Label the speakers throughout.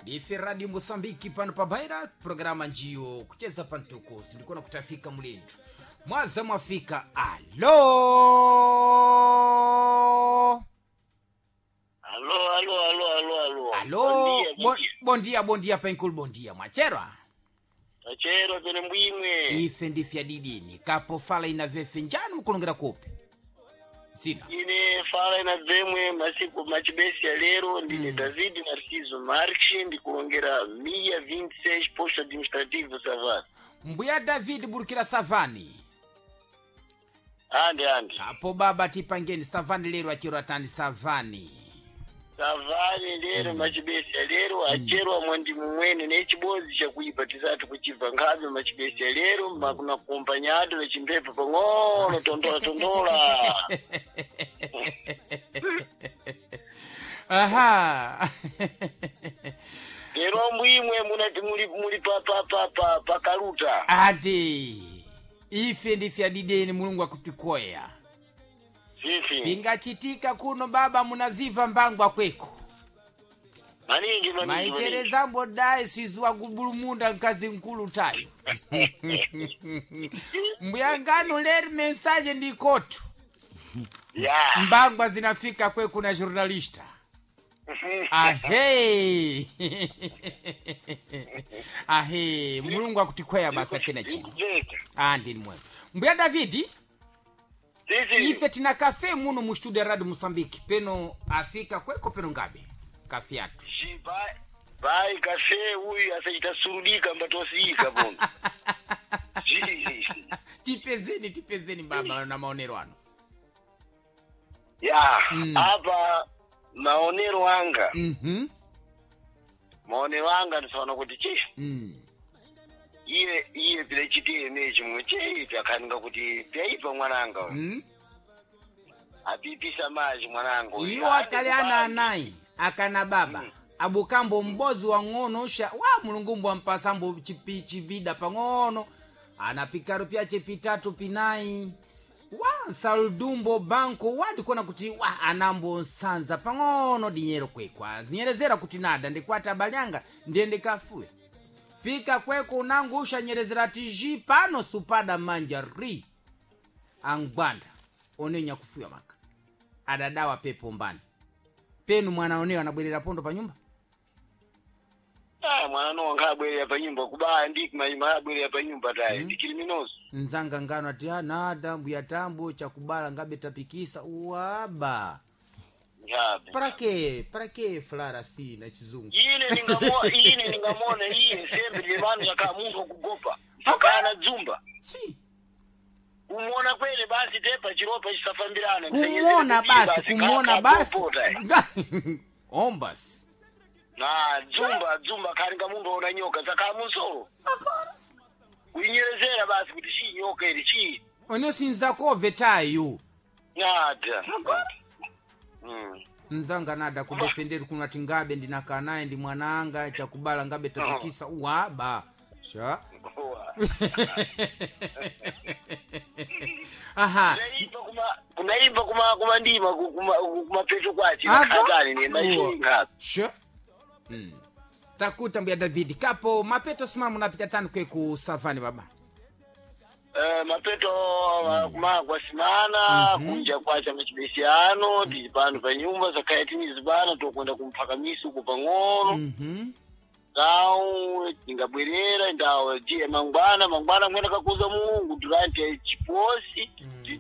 Speaker 1: Ndife Radio Mosambiki pano pa Baira, programa njiyo kucheza pantuko sindikuona kutafika mulenju mwaza mwafika. Alo
Speaker 2: Alo, alo, alo, alo, alo.
Speaker 1: alo.
Speaker 2: Bom dia, bom dia.
Speaker 1: Bondia bondia penkul bondia mwacherwa.
Speaker 2: Tachero tene mbwimwe.
Speaker 1: Ife ndifya didini kapo fala ina vefe njani mukulongera kupi zina?
Speaker 2: Ine fala ina vemwe masiku machibesi ya lero ndine David Narciso Marx ndikulongera 126 posto administrativo Savana.
Speaker 1: Mbuya David burukira Savani.
Speaker 2: Ande ande.
Speaker 1: Kapo baba tipangeni Savani lero achero atani Savani.
Speaker 2: Savani lero machibesi ya lero acherwa mwandi mumwene nechibozi chakuipa tisati kuchibva nkhabe machibesi ya lero makuna kumpanyado nechimpepo pang'ono tondola tondola.
Speaker 1: Aha.
Speaker 2: Lero mbwimwe munati muli muli pa pa pa pa pa kaluta.
Speaker 1: Ati ife ndifya dideni mulungu akutikoya.
Speaker 2: Sisi.
Speaker 1: Pingachitika kuno baba munaziva mbangwa kweko.
Speaker 2: Maningi maningi. Maningi.
Speaker 1: Maiterezambo dai sizuwa kubulumunda mkazi mkulu tayo mbuyangano leri mensaje ndikotu.
Speaker 2: Ya.
Speaker 1: Mbangwa zinafika kweku na journalista ahe ahe mulungu akutikwea basa tena chino.
Speaker 2: Ndikubveka.
Speaker 1: Andini mwema mbuya Davidi.
Speaker 2: Sisi.
Speaker 1: Ife tina kafe muno mu studio ya Radio Mosambiki peno afika kweko peno ngabe kafe yatu.
Speaker 2: Bai kafe uyu asachita surudika mbatosiyika pono. Ji.
Speaker 1: Tipezeni tipezeni baba na maonero ano.
Speaker 2: Ya, apa maonero anga. Maonero anga ndisaona kuti chi iye iye pile chitiye mechi mwe cheipi akhaninga kuti pyaipa mwananga uyu. Apipisa maji mwananga uyu.
Speaker 1: Iwo akali ana anayi akana baba abukambo mbozi wang'ono sha wa mulungu wampasambo chipi chivida pang'ono anapikaro pyache pitatu pinayi wa saldumbo banko wandikona kuti wa anambo nsanza pang'ono dinyero kwekwa zinyerezera kuti nada ndikwati abali anga ndiyende kafuwe fika kweko unangu ushanyerezera tiji pano supada manja ri angwanda onenya kufuya maka adadawa pepo mbani penu mwana oneyo anabwerera pondo pa nyumba.
Speaker 2: Ah, mwana no ankhabwerera pa nyumba kubaya ndi mayima abwerera pa nyumba tayi ndikiliminoso.
Speaker 1: Nzanga ngano ati "Ah, nada mbuya tambo chakubala ngabe tapikisa uwaba."
Speaker 2: Nkhabe.
Speaker 1: Parake parake flara si na chizungu.
Speaker 2: Ine ningamo ine ningamona iye sembe levanu yaka munthu akugopa sakana dzumba.
Speaker 1: Si.
Speaker 2: Kumuona kwene basi tepa chiropa chisafambirana.
Speaker 1: Kumona basi kumona basi ombas.
Speaker 2: Na dzumba dzumba khalinga munthu aona nyoka zakhala munsolo kuinyerezera basi kuti chii nyoka ili chii.
Speaker 1: One sinzakove tayo.
Speaker 2: Nada.
Speaker 1: Akora. Nzanga nada kudefenderi kuno ati ngabe ndinakaa naye ndi mwananga chakubala ngabe tapikisa uwaba sha. Aha.
Speaker 2: Kunaimba kuma kunaimba kuma kumandima kumapeto kwachi
Speaker 1: Abo?
Speaker 2: nakhatani ne machinga.
Speaker 1: Sure. Takuta mbuya David kapo mapeto simamu napita tano kwe ku savani baba.
Speaker 2: Mapeto kuma kwasimana kunja kwacha machibesiano tili pano pa nyumba zakhaya tinizi pano tokwenda kumphakamisi uko pang'ono. Ndau tingabwerera ndawo jiye mangwana mangwana mwena kakuza mulungu durante chiposi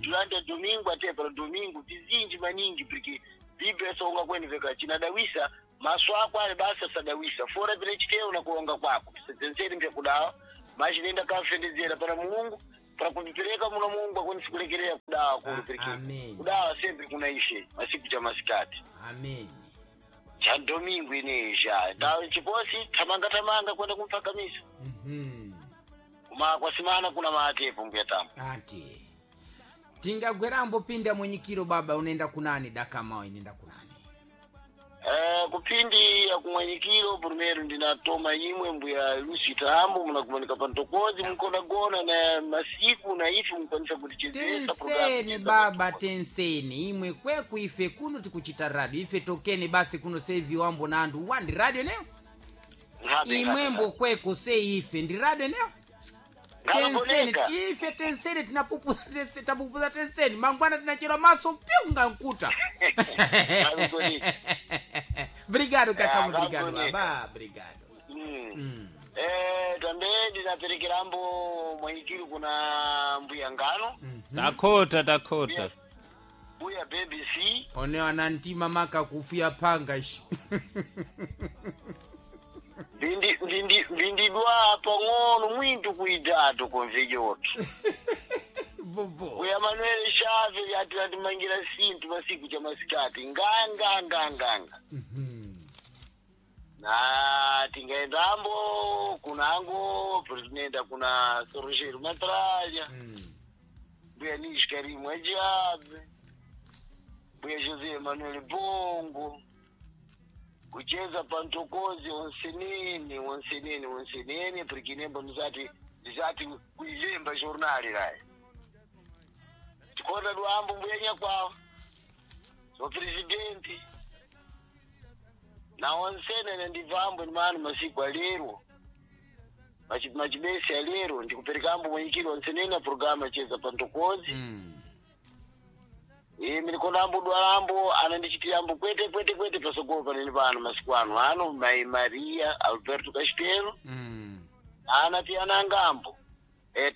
Speaker 2: durante domingo ate para domingo tizinji maningi porque biblia songa kweniveka chinadawisa maso ako ali basa sadawisa fora pine chiteyo nakulonga kwako tisenzeri mpyakudawa machinenda kafendezera para mulungu para kuvipereka muna mulungu akwanisi kulekerera kudawa kuli pereke
Speaker 1: Amen.
Speaker 2: kudawa sempre kuna ishe masiku cha masikati.
Speaker 1: Amen.
Speaker 2: Cha domingo ineisha ndawo chiposi tamanga tamanga kwenda kumphakamisa. Kuma kwasimana kuna matepo mbuya tambo.
Speaker 1: Ati tingagwerambo pinda mwenyikiro baba unaenda kunani dakamao inenda kunani?
Speaker 2: Kupindi ya kumwanyikiro primeiro ndinatoma imwe mbuya Lucy Tambo munakumanika pantokozi mukona gona na masiku na ife mukwanisa kutichezesa programu
Speaker 1: Tenseni
Speaker 2: cheza
Speaker 1: baba
Speaker 2: Pantokozi.
Speaker 1: tenseni imwe kweku ife kuno tikuchita radio ife tokeni basi kuno sevi wambo na andu wandi radio leo.
Speaker 2: Ngabe,
Speaker 1: Imwembo kweko se ife ndi radio eneyo. Tenseni
Speaker 2: Ngabakoneka.
Speaker 1: ife tenseni tinapupuza tenseni tapupuza tenseni mangwana tinachera maso pyunga nkuta.
Speaker 2: Ngabakoneka.
Speaker 1: Brigado kakamu
Speaker 2: Ah,
Speaker 1: brigado
Speaker 2: ngabakoneka.
Speaker 1: baba brigado.
Speaker 2: Mm. Tambe ndinaperekerambo mwanyikiri kuna mbuya ngano
Speaker 3: Takhota takhota.
Speaker 2: mbuya BBC.
Speaker 1: One anantima maka kufuya panga ishi.
Speaker 2: Ndindidwa pang'ono mwintu kuidatu kumvijotu.
Speaker 1: Bobo.
Speaker 2: Mbuya Manuel Chave ati atimangira sintu masiku cha masikati nganga nganga nga. Na tingaendambo kunango presidenta kuna Sorojero Matralha. Mbuya Nis Karimu Ajabe, mbuya José Manuel Bongo, kucheza pantokozi onsenene onsenene onsenene porque nemba muzati ndizati kuilemba jornali raye tikona luambo mbuya nyakwawa so presidenti na onsenene ndibvambo nimano masiku alero machibesi alero ndikuperekambo mwenyikiri onsenene programa cheza pantokozi. Imi ndikonambo dwalambo anandichitirambo kwete kwete kwete pasogolo panene pano masiku ano ano mai Maria Alberto Castelo. Ana tianangambo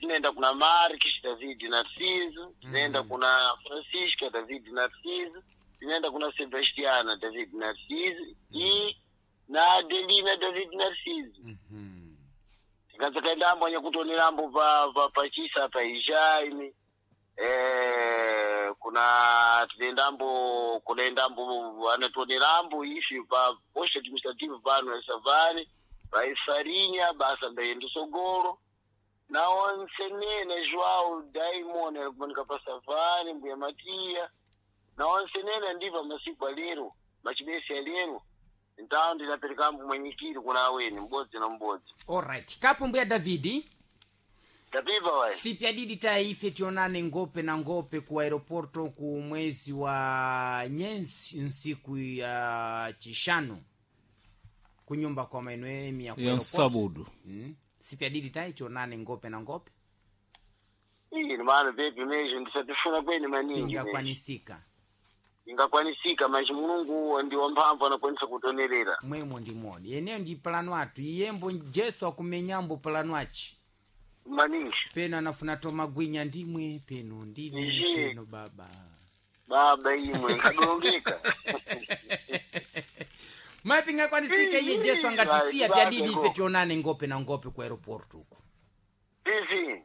Speaker 2: tinoenda kuna Marques David Narciso, tinoenda kuna Francisca David Narciso, tinoenda kuna Sebastiana David Narciso e na Adelina David Narciso. Tikadzakaendambo anyakutonerambo pachisa pa ijaini kuna tinoendambo kunaendambo anatonerambo ifi pa posto administrative pano ya Savane vaifarinya basa ndaendesogoro na onsenene Joao Diamond alikumanika pa Savane mbuya Matia na onsenene ndiva masiku alero machibesi alero ntawo ndinaperekambo mwenyikiri kuna aweni mbodzi na mbodzi.
Speaker 1: Alright. Kapo mbuya Davidi.
Speaker 2: Tapiva wayi.
Speaker 1: Sipyadidi taife tionane ngope na ngope ku aeroporto ku mwezi wa nyensi nsiku ya chishanu kunyumba kwa maenoemi ya ku
Speaker 3: Ya
Speaker 1: aeroport.
Speaker 3: nsabudu.
Speaker 1: Sipyadidi tai tionane ngope na ngope.
Speaker 2: Ii mano pepi mesho ndisatifuna kweni maningi mesho.
Speaker 1: Ingakwanisika.
Speaker 2: Ingakwanisika manji Mulungu ndi wamphamvu anakwanisa kutonerera.
Speaker 1: Mwemo ndimoni yeneyo ndi plano atu iyembo Jesu akumenyambo plano achi.
Speaker 2: Maningi.
Speaker 1: Peno anafuna tomagwinya ndimwe peno ndine
Speaker 2: Nje.
Speaker 1: peno baba.
Speaker 2: Baba imwe nkadongeka.
Speaker 1: Mapi ingakwanisika iye Jesu angatisiya
Speaker 2: Vai,
Speaker 1: pyadidi ife
Speaker 2: go.
Speaker 1: tionane ngope na ngope ku aeroport uku.
Speaker 2: Sisi.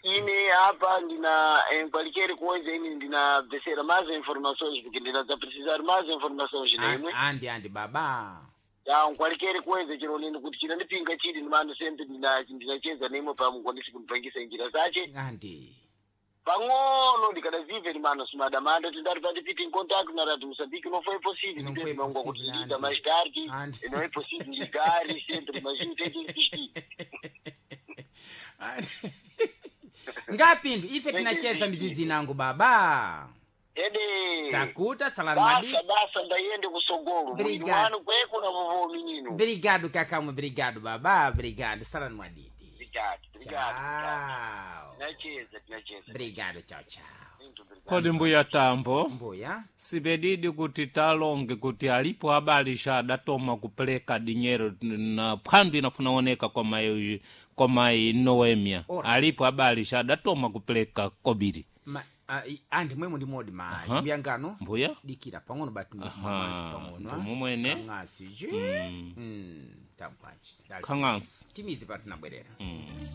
Speaker 2: Ine hapa ndina em qualquer coisa ine ndina besera mais informações porque ndina za precisar mais informações nemwe.
Speaker 1: Andi andi baba.
Speaker 2: Ya qualquer coisa chiro nini kuti chinandipinga chili ndimano sempre ndina ndinacheza nemwe pamukwanisi kunipangisa njira zache.
Speaker 1: Andi.
Speaker 2: Pang'ono ndikadazive limano simadamanda tindati pandipiti in contact na radio Moçambique não foi possível.
Speaker 1: Não
Speaker 2: Não
Speaker 1: foi
Speaker 2: foi
Speaker 1: possível,
Speaker 2: possível
Speaker 1: Andy.
Speaker 2: mais tarde
Speaker 1: Andy.
Speaker 2: não é possível ligar sempre mas tem que insistir.
Speaker 1: Ngapindu ife tinacheza mizizi nangu baba.
Speaker 2: Ede
Speaker 1: Takuta salani madi.
Speaker 2: basa basa ndayende kusogolo mwini
Speaker 1: Obrigado.
Speaker 2: wanu kweko na vovo minino.
Speaker 1: Obrigado kakamwe obrigado baba obrigado salani mwadidi.
Speaker 2: Obrigado, obrigado, obrigado.
Speaker 1: Tchau.
Speaker 2: Tinacheza, tinacheza.
Speaker 1: Obrigado tchau tchau.
Speaker 2: Muito obrigado.
Speaker 3: Kodi mbuya Tambo.
Speaker 1: Mbuya.
Speaker 3: Sipedidi kuti talonge kuti alipo abali xa adatoma kupeleka dinyero na phwandu inafuna oneka kwa mai kwa mai Noemia.
Speaker 1: Alright.
Speaker 3: Alipo abali xa adatoma kupeleka kobiri.
Speaker 1: Ma, andi mwemo ndi modi ma
Speaker 3: Aha.
Speaker 1: mbuya ngano.
Speaker 3: Mbuya?
Speaker 1: Dikira pang'ono batu
Speaker 3: Aha,
Speaker 1: pang'ono.
Speaker 3: ndimomwene.
Speaker 1: Kang'asi ji. Tabwanji.
Speaker 3: Kang'asi.
Speaker 1: Timizi patu nabwerera.